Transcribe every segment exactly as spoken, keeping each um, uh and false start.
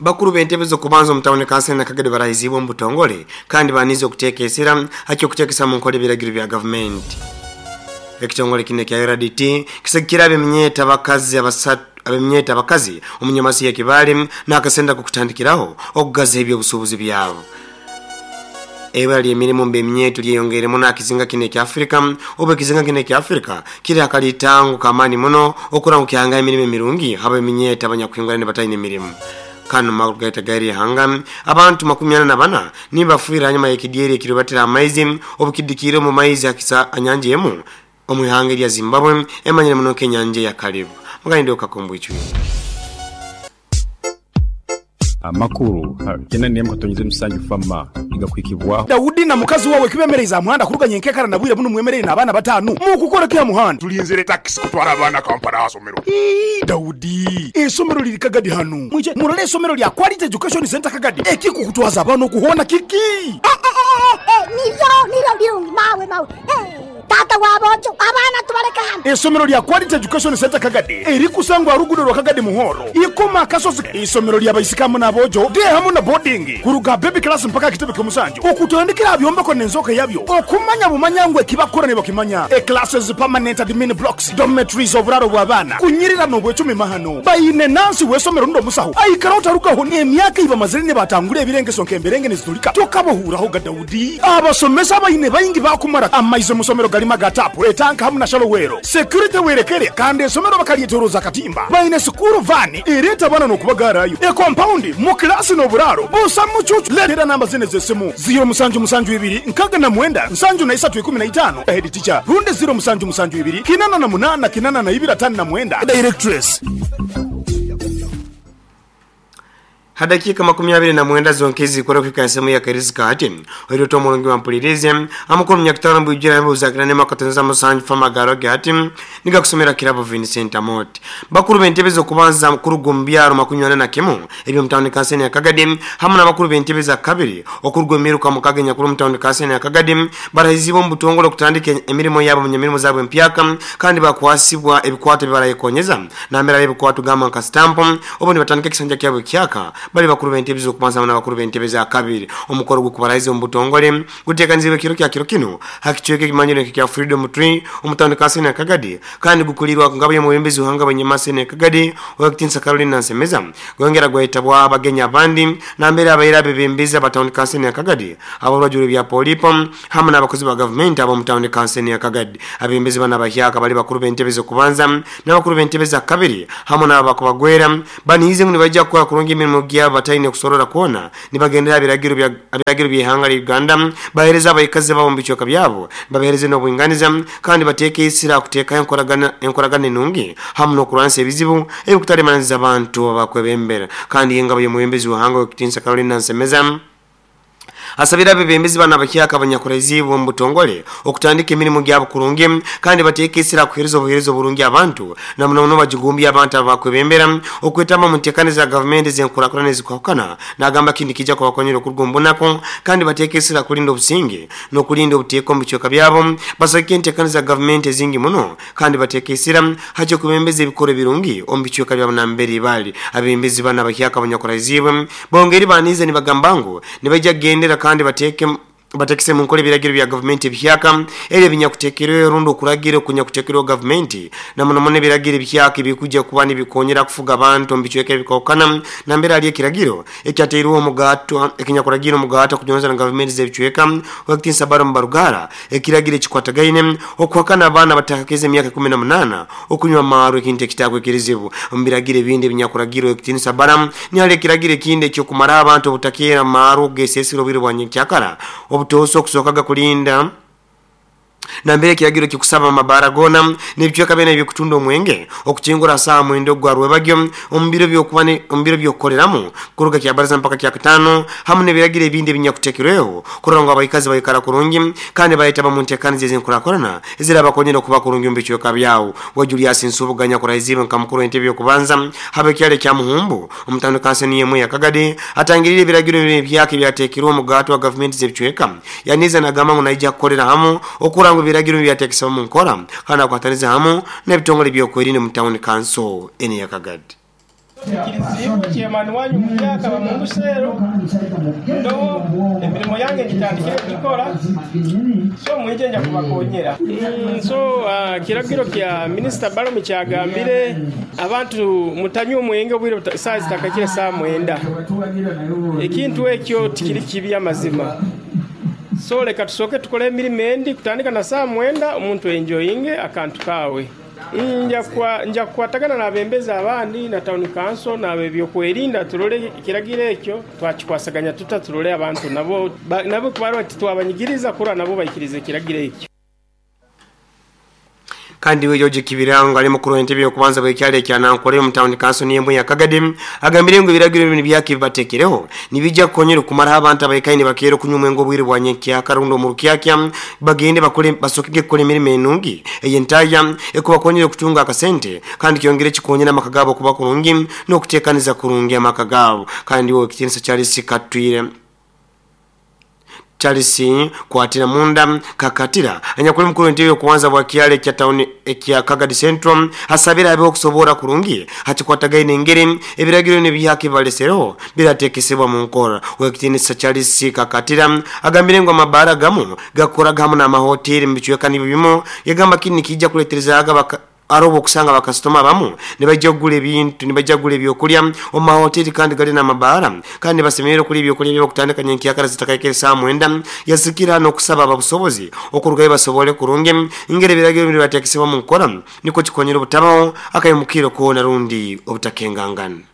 Bakuru b'entebe z'okubanza omu tawuni kansala na Kagadi barahizibwe omu butongole kandi banize okuteeka esira haki okuteekesa mu nkola ebiragiro bya gavumenti. Ekitongole kino ekya R D T kisegekire ab'eminyeeto abakazi abasatu ab'eminyeeto abakazi omu nyamasi ya Kibaale n'akasente ak'okutandikiraho okugaza eby'obusuubuzi byabo. Ebura ly'emirimu mu b'eminyeeto lyeyongeire muno aha kizinga kino ekya Afrika obu ekizinga kino ekya Afrika kiri aha kalitango k'amaani muno okurora ngu kyahanga emirimu emirungi habw'eminyeeto abanyakuhingura nibataine mirimu. Kanu makuru gaita gaire eihanga, abantu makumi ana na bana nibafiire hanyuma y'ekidyeri ekiribatira amaizi obukidikiire omu maizi hakisa anyanja emu omu ihanga erya Zimbabwe emanyire muno nk'enyanja eya Kariba. Mugandi Okakombwicwire. Amakuru kyenda n'emwe katonyeze musanju fama nigakuhikibwaho. Daudi na mukazi wawe kibemereize aha muhanda kuruga nyenkekara na bwire bunu mwemereire n'abaana bataano mukukora ki aha muhanda? Tulinzire takisi kutwara abaana Kampala aha somero. Ii, Daudi, eisomero liri Kagadi hanu. Mwije murole eisomero lya Quality Education Center Kagadi. Ekikukutwaza abaana okuhoona kiki? Eh, eh, eh, eh, nibyo, nibyo birungi, mawe, mawe. Eh, tata wa bojo, abaana tubaleke hano. Eisomero lya Quality Education Center Kagadi erikusangwa aha luguudo lwa Kagadi Muhoro, Ikoma Akasozi. Eisomero lya baisiki hamu n'aboojo, day hamu na boarding, kuruga baby class mpaka aha kitebe ky'omusanju, okutandikira aha byombeko n'enzooka yabyo, okumanya bumanya ngu ekibakukora nibakimanya. E classes, permanent admin blocks, dormitories, oburaaro bw'abaana, kunyirira n'obwecumi mahano. Baine nansi w'eisomero rundi omusaho aikara otarugaho n'emyaka ei bamazire nibatangura ebirengeso nk'emberenge nizitulika. Tokabahuuraho ga Daudi. Abasomesa abaine baingi bakumara amaizi omu somero garima ga tapu, etanka hamu na shallow well. Security werekere kandi esomero bakalyetoroza akatimba. Baine school van ereeta abaana n'okubagarayo. E compound mu kilasi n'oburaaro busa mucucu. Leetera namba zine z'esimu ziro musanju musanju ibiri nkaga na mwenda nsanju na isatu ikumi na itaano head teacher rundi ziro musanju musanju ibiri kinana na munana kinana na ibiri atano na mwenda directress. Hadakika makumi abiri na mwenda zonke zikora kufika sehemu ya Kairizi kati. Oiro to mulungi wa mpulirize amakuru myaka mbujira yambuza nema katenza musanju fama garoge ati niga kusomera kirabo Vincent Amot. Bakuru b'entebe z'okubanza mukuru gombyaro makumi ana na kimu ebyo mutawuni kanseni ya Kagadi hamwe n'abakuru b'entebe za kabiri okurwa emiruka mukaga nyakuru mutawuni kanseni ya Kagadi barahizibwa mu butongole kutandika emirimo yabo mu mirimo zabo empyaka kandi bakwasibwa ebikwato bibarayekonyeza namera ebikwato gamba nka stamp obo nibatandika ekisanja kyabo kyaka bali bakuru b'entebe z'okubanza n'abakuru b'entebe za kabiri. Omukoro gw'okubarahiza omu butongole guteekanizibwe kiro kya kiro kino hakicweka ekimanyiro kya Freedom Tree omutawuni kanseni ya Kagadi kandi gukulirwa ngabo y'omubembezi uhanga abanyamaseni ya Kagadi Owekitinsa Caroline Nsemeza gwongera gwayitabwa abagenya abandi nambere abaira abebembezi abatawuni kanseni ya Kagadi abolwajuro bya Polipo hamwe n'abakozi ba gavumenti abo mutawuni kanseni ya Kagadi. Abebembezi bana bahyaka bali bakuru b'entebe z'okubanza n'abakuru b'entebe za kabiri hamwe n'abakubagwera banihize ngu nibajja kukora kurungi emirimo gyabo bataine kusorora kuona nibagendera ebiragiro bya ebiragiro by'ihanga lya Uganda bahereza abaikazi babo mu bicweka byabo babahereze n'obwinganiza kandi bateeke isira kuteekayo enkoragana enkoragana enungi hamwe n'okurwanisa ebizibu ebikutaremaniriza abantu abakwebembera. Kandi engabo y'omubembezi w'ihanga Owekitinsa Caroline Nsemeza asabira abebembezi bana bakyaka abanyakuraiziibwe omu butongole okutandika emirimu gyabo kurungi kandi bateeke isira kuheereza obuheereza oburungi abantu na muno muno bagigumbye abantu abakwebembera okwetamba mu nteekane za gavumenti z'enkurakurana ezikwahukana n'agamba kindi kijja kubakonyera okuruga omu bunaku kandi bateeke isira kulinda obusinge n'okulinda obuteeka omu bicweka byabo basagike enteekane za gavumenti ezingi muno kandi bateeke isira haki okubembeza ebikorwa ebirungi omu bicweka byabo nambere bali. Abebembezi bana bakyaka abanyakuraiziibwe bongeri banize nibagamba ngu nibaija kugendera kandi bateke batekese mu nkola ebiragiro bya gavumenti ebihyaka era ebinyakuteekerweyo rundi okuragira okunyakuteekerweho gavumenti na muno muno ebiragiro ebihyaka ebikujja kuba nibikonyera kufuga abantu omu bicweka ebikwahukana nambere hariyo ekiragiro ekyateirweho omugato ekinyakuragira omugato okujonza na gavumenti z'ebicweka Owekitinsa Balaam Barugara ekiragiro ekikwatagaine okuhakana abaana batakakeze emyaka ikumi na munaana okunywa amaarwa ekintu ekitakwekerizibwa. Omu biragiro ebindi ebinyakuragirwa Owekitinsa Balaam nihariyo ekiragiro ekindi ekyokumara abantu obutakeera amaarwa okugesesera obwire bwa nyenkyakara obutoose okusookaga kulinda nambere ekiragiro kikusaba amabara gona n'ebicweka byona ebyokutunda omwenge okukingura saa mwenda ogwa rwebagyo omu biro by'okuba omu biro by'okukoreramu kuruga kyabaraza mpaka kya kataano hamwe n'ebiragiro ebindi ebinyakuteekerweho kurora ngu abaikazi baikara kurungi kandi bayetaba mu nteekaniza ez'enkurakurana ezirabakonyera okuba kurungi omu bicweka byabo. We Julius Nsubuga nyakurahiziibwe nka mukuru w'entebe y'okubanza haba ekyalo ekya Muhumbu omutawuni kanseni y'emwe ya Kagadi atangirire ebiragiro ebyaka ebyateekirwe omugato wa gavumenti z'ebicweka yaniza nagamba ngu naija kukorera hamu okurora ngu ebiragiro byateekesebwa mu nkora kandi akwataniza hamu n'ebitongole by'okwerinda mu tawuni kanso ene ya Kagadi. Kizibu chairman wanyu muyaka bamumbusero ndo emirimo yange ngitandikire kugikora so mwije nja kubakonyera. Mm, so uh, kiragiro kya Minister Balaam kyagambire abantu mutanywe omwenge obwire saa zitakakire saa mwenda, ekintu ekyo tikiri kibi amazima. So leka tusoke tukole emirimo endi kutandika na saa mwenda omuntu enjoyinge akantu kawe. Nja kukwatagana n'abembezi abandi na town council n'abebyokwerinda turole kiragiro ekyo twakikwasaganya tuta turole abantu nabo nabo kubarwa titwabanyigiriza kura nabo bayikirize kiragiro ekyo. Kandi we George Kibirango ali mukuru w'entebe y'okubanza bw'ekyalo ekya Nankole mu town council n'embwe ya Kagadi agambire ngu ebiragiro bino byakibatekereho nibijja kukonyera okumaraho abantu abaikaine bakeera okunywa omwenge obwire bwa nyenkyakara rundi omu rukyakya bagende bakole basokege kukora emirimo enungi ey'entaya ekubakonyera okutunga akasente kandi kyongere kikonyera amaka gaabo okuba kurungi n'okuteekaniza kurungi amaka gaabo. Kandi we ekitiinisa Charles Katwire Charles Kwatira Munda Kakatira anyakuli mukuru w'entebe y'okubanza bwa kyalo ekya town ekya Kagadi Central asabira abe okusobora kurungi hakikwatagaine engeri ebiragiro n'ebyakibalesero biratekesebwa mu nkora. Wekitiinisa Charles Kakatira agambire ngu amabara gamu gakoraga hamu n'amahoteri mu bicweka nibyo bimu yagamba kini kijja kuletereza aga arobo okusanga bakasitoma bamu nibajja kugula ebintu nibajja kugula ebyokulya omu mahoteri kandi gali n'amabara kandi basemerere okulya ebyokulya by'okutandika nyenkyakara zitakaikire saa mwenda. Yazikira n'okusaba ababusobozi okurugayo basobole kurungi ingeri ebiragiro bino biratekesebwa mu nkora niko kikonyera obutabaho akayimukiro koona rundi obutakengangana.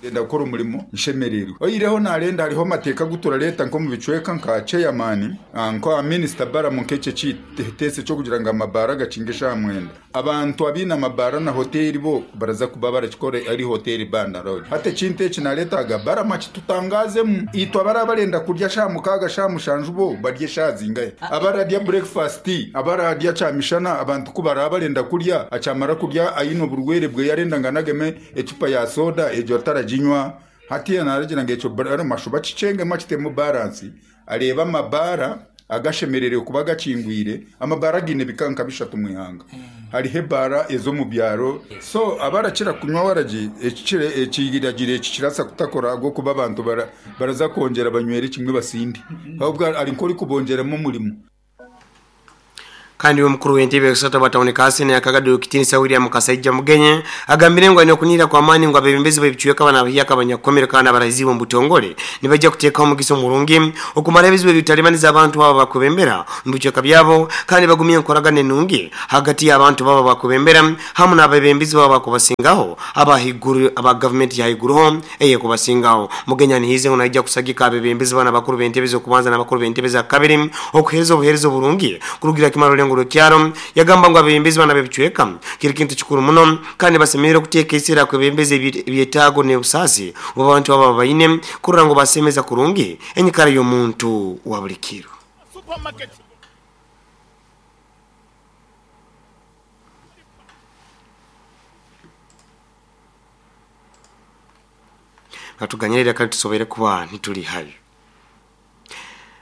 Ndenda gukora umurimo nshemererwe oyireho narenda hariho amateka gutura leta nko mu bicweka nka chairman nka minister Balaam nk'ekyo kitese cyo kugira ngo amabara gacinge sha mwenda abantu abina amabara na hoteli bo baraza kuba barakikora ari hoteli banda road hate kinte eki naretaga Balaam kitutangazemu itwa barabarenda kurya sha mukaga sha mushanju bo barye sha zingaye abararya breakfast abararya chamishana abantu kubara barenda kurya acamara kurya ayino burwere bwe yarenda nganageme ecupa ya soda ejo ataraji jinywa hatiya naragira ngo eco bara mashuba kicenge makitemu balance areba amabara agashemerere kuba gakingwire amabara gine bikanka bishatu mwihanga hari hebara ezo mu byaro so abarakira kunywa waraji ekikire ekigiragire ekikirasa kutakora go kuba abantu bara baraza kongera banywere kimwe basindi ahubwo ari nkori kubongeramo umurimo. Kandi mukuru w'entebe kusata bataone kasi na Kagadi kitinisa William Kasaija Mugenye agambire ngo anokunira kwa amani ngo abebembezi b'ebicweka bana bahiyaka abanyakomere kandi abarahizibo mbutongole nibajja kuteekaho omugiso murungi okumara ebizibu ebitalimaniza abantu abo bakubembera mu bicweka byabo kandi bagumye enkoragana enungi hagati y'abantu baba bakubembera hamwe n'abebembezi baba bakubasingaho abahiguru aba government ya higuruho eye kubasingaho. Mugenye nihize ngo najja kusagika abebembezi bana bakuru b'entebe zo kubanza n'abakuru b'entebe za kabiri okuhereza obuhereza burungi kurugira kimaro kyaro yagamba ngo abebembezi bana bebicweka kiri kintu kikuru muno kandi basemerere kuteeka esera kwebembezi ebyetaago n'obusasi abantu baba bayine kurora ngo basemeza kurungi enyikara y'omuntu wa buli kiro. Katuganyirira kandi tusobere kuba ntituli hayo.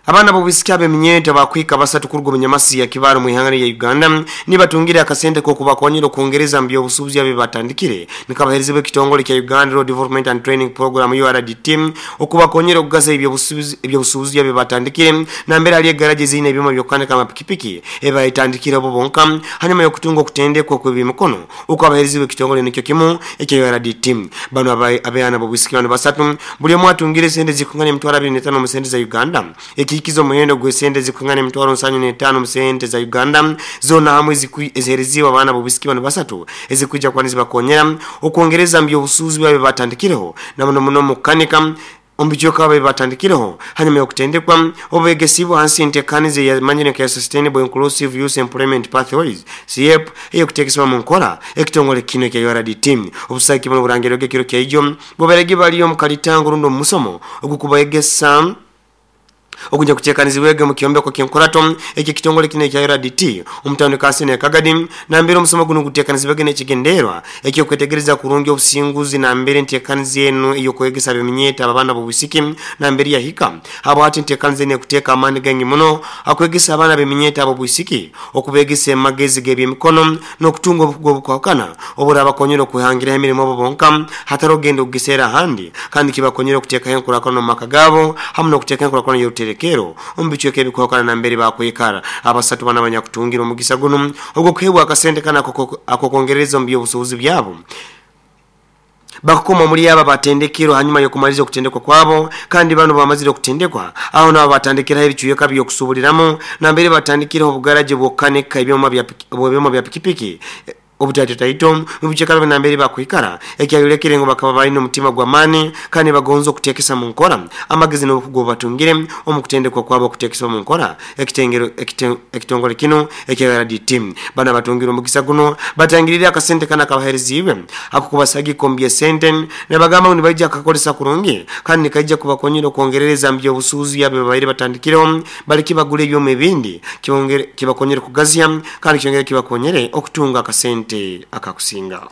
Abana bobisiki abeminyeto bakwika basatu kurugo munyamasi ya Kibaru mu ya Uganda nibatungire akasente ko kubakonyera okwongereza mbyo obusubuzi abe batandikire nikabahereze bekitongole kya Uganda Road Development and Training Program U R D T okubakonyera okugaza ebyo busubuzi ebyo busubuzi abe batandikire nambere ali garage zine ebyuma byokandika amapikipiki eba itandikire bo bonka hanyuma yokutunga okutendekwa kw'ebimikono okabahereze bekitongole nikyo kimu ekya U R D T. Bano abeana bobisiki bano basatu buli omu atungire sente zikungana emitwaro abiri n'etaano mu sente za Uganda ekikizo muhendo gwesente zikungana emitwaro nsanyu n'etaano mu sente za Uganda zona hamwe ezihereziwa abaana bobisiki bano basatu ezikwijja kwaniza bakonyera okwongereza mbyo obusuuzi bwabe batandikireho na muno muno mukanika ombijoka babe batandikireho hanyuma yokutendekwa obegesibwa hansi entekanize ya management ya Sustainable Inclusive Youth Employment Pathways S I E P eyokutekesebwa mu nkola ekitongole kino ekya U R D T. Obusaki buno burangiro gekiro kya ijo boberegi baliyo mu kalitango rundo mu musomo ogukubaegesa Okunja kutekanizibwege mu kyombeko ky'enkurato eki kitongole kino ekya U R D T omutawuni Kansini Kagadi nambere omusomo guno gutekanizibwege n'ekigenderwa ekyokwetegereza kurungi obusinguzi nambere enteekaniza eno ey'okwegesa ab'eminyeta abaana b'obwisiki nambere yahika habwati enteekaniza eno ekuteeka amaani gangi muno akwegesa abaana b'eminyeta ab'obwisiki okubegesa amagezi g'ebyemikono n'okutunga obukugu obukwahukana oburabakonyera okuhangiraho emirimo bo bonka hatari ogenda okugiseera ahandi kandi kibakonyera okuteekaho enkulaakulana omu maka gaabo hamu n'okuteekaho enkulaakulana y'oruterekero omu bicweka ebikwahukana nambere bakwikara. Abasatu bana abanyakutungira omugisa guno ogw'okuheebwa akasente kana akokwongerereza omu by'obusuubuzi byabo bakukoma muri aba batendekero hanyuma yokumaliza okutendekwa kwabo kandi bano bamazire okutendekwa aho nabo batandikiraho ebicweka by'okusuubuliramu nambere batandikiraho obugaraje bw'okukanika ebyoma bya ebyoma bya pikipiki obutatotaito mubichekalo nambere bakwikara ekyayolekere ngo bakaba balina omutima gwa mani kandi bagonza okutekesa mu nkora amagezi n'obukugu batungire omukutendekwa kwabo okutekesa mu nkora ekitengero ekitongole kino ekya U R D T. Bana batungira omukisa guno batangirira akasente kana kabahereziwe akukubasagi kombye sente ne bagamba ngu nibaija akakolesa kurungi kandi nikaija kubakonyera okwongerereza mu by'obusuubuzi yabe babaire batandikiraho baliki bagule ebyoma ebindi kibongere kibakonyere kugazya kandi kyongere kibakonyere okutunga akasente akakusinga.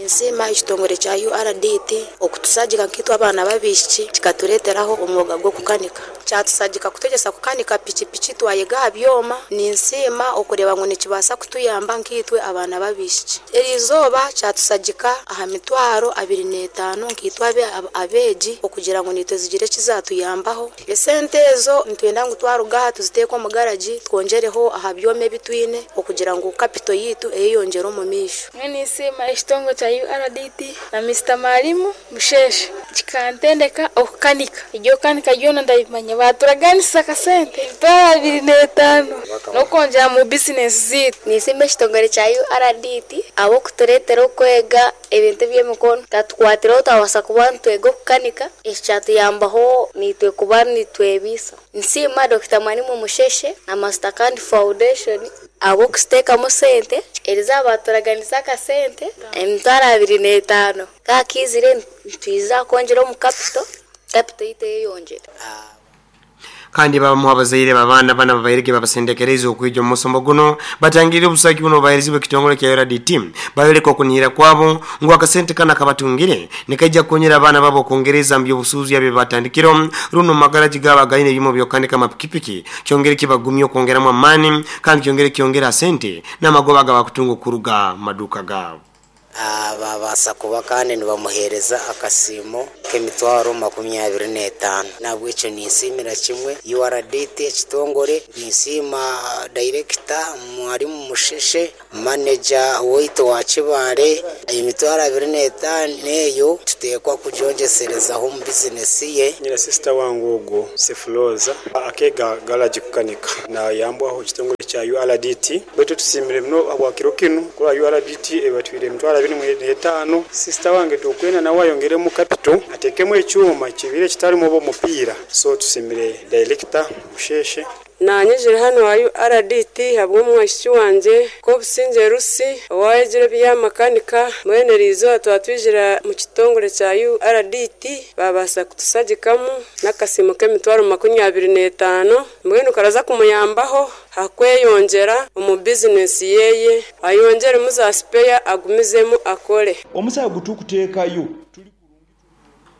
Nsiima ekitongore kya U R D T okutusagika nkitwe abaana babishiki kikatureeteraho omwoga gw'okukanika kyatusagika kutegesa kukanika pikipiki twayega aha byoma. Ninsiima okureba ngu nikibaasa kutuyamba nkitwe abaana babishiki. Erizooba kyatusagika aha mitwaro abiri n'etaano nkitwe abeegi okugira ngu nitwe zigire ekizatuyambaho. Esente ezo nitwenda ngu twaruga aha tuziteeke omu garagi twongereho aha byoma ebitwine okugira ngu kapito yitu eyeyongyere omu maisho. Ninsiima ekitongore kya U R D T na Mister Mwalimu Musheshe kikantendeka okukanika iryo kanika ryona ndabimanya baturaganisa akasente emitwaro abiri n'etaano n'okwongyera mu bizinesi ziitu. Ninsiima ekitongore kya U R D T ahabw'okutureetera okwega ebintu by'emikono katukwatireho twabasa kuba nitwega okukanika eki kyatuyambaho nitwe kuba nitwebiisa. Nsiima Doctor Mwalimu Musheshe na Mastercard Foundation ahabw'okusiteekamu sente erizooba baturaganisa akasente emitwaro abiri n'etaano kakizire nitwiza kwongyera omu kapito kapito yitu eyeyongyere. Kandi babamu abazaire babana bana babairege babasendekereza okwijja omusomo guno batangirire obusaki buno baherezibwe ekitongole kya U R D T bayoleka okunihira kwabo ngu akasente kana kabatungire nikaija kukonyera abaana babo okwongereza mu by'obusuubuzi bye batandikiro runo magaraji gaba gaine ebimo by'okukanika amapikipiki kyongere kibagumya okwongeramu amaani kandi kyongere kyongera sente n'amagoba gabakutunga okuruga mu maduuka gaabo. Babasa kuba kandi nibamuheereza akasiimo k'emitwaro makumyabiri n'etaano. Nabwekyo ninsiimira kimwe U R D T ekitongore, ninsiima director Mwalimu Musheshe, manager waitu wa Kibaale. Emitwaro abiri n'etaano eyo tuteekwa kugyongyeserezaho omu bizinesi ye. Nyina sister wangu ogwo Sefuloza akega garaji kukanika nayambwaho ekitongore kya U R D T baitu tusiimire muno habwakiro kinu kura U R D T ebatwire emitwaro abiri n'etaano. Sister wange tukwena nawe ayongeremu capital atekemu ekyuma kibire kitarimu oba omupiira so tusimire director Musheshe. Nanyijire hano wa U R D T habw'omwishiki wangye k'obusinge Rusi owayegire ebyamakanika mwene riizooba twatwijira mu kitongore kya U R D T babaasa kutusagikamu n'akasiimo k'emitwaro makumyabiri n'etaano mbwenu karaza kumuyambaho hakweyongyera omu bizinesi yeye ayongyeremu za sipeya agumizemu akore. Omusawo gutukuteekayo.